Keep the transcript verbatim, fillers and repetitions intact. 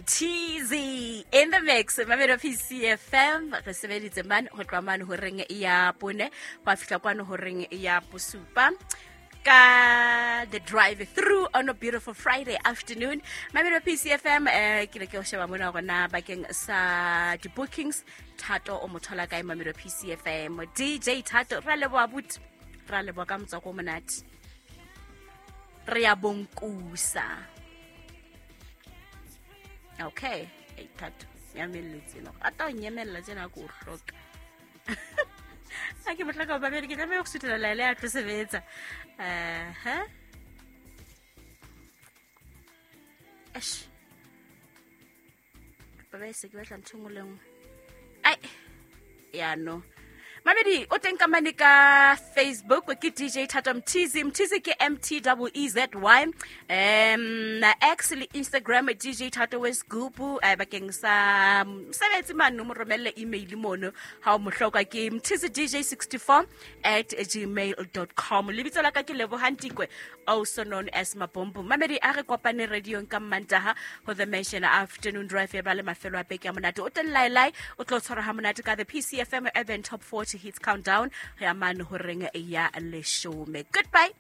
Mtz in the mix. Mamelo P C F M re sebeditse man ho tloha mane horeng ya bone ho a fihla kwano horeng ya bosupa ka the drive through on a beautiful Friday afternoon. Mamelo P C F M eh ke le ke o sheba mona hore na bakeng sa di bookings Thato o mo thola kae Mamelo P C F M. D J Thato ra leboha buti, ra leboha ka motswako o monate. Re ya bonkusa. Okay, hey Thato, nyamelletse no. Ata o nyemella tjena ko o hloka. Ha ke mo hloka babedi ke tlameha ho suthela laele ya tlo sebetsa. Eh, ha? Eish. Baba se ke batla ntho e nngwe le nngwe. Ai. Ya no. Mamedi o teng ka mane ka Facebook ke D J Thato Mthizi. Mthizi ke M T E E Z Y. Um, X le Instagram D J Thato Westgroup, eh, bakeng sa mosebetsi mane o mo romelle email mono ha o mo hloka ke Mthizi D J sixty-four at gmail dot com. Lebitso la ka ke Lebohang Tikwe, also known as Mabombo. Mamedi a re kopane radio ka Mantaha ho the Mansion Afternoon Drive ya ba le mafelo a beke a monate. O teng lai lai o tlo tshwara ha monate ka the P C F M Urban Top forty Hits Countdown. Re amane horeng ya leshome. Goodbye.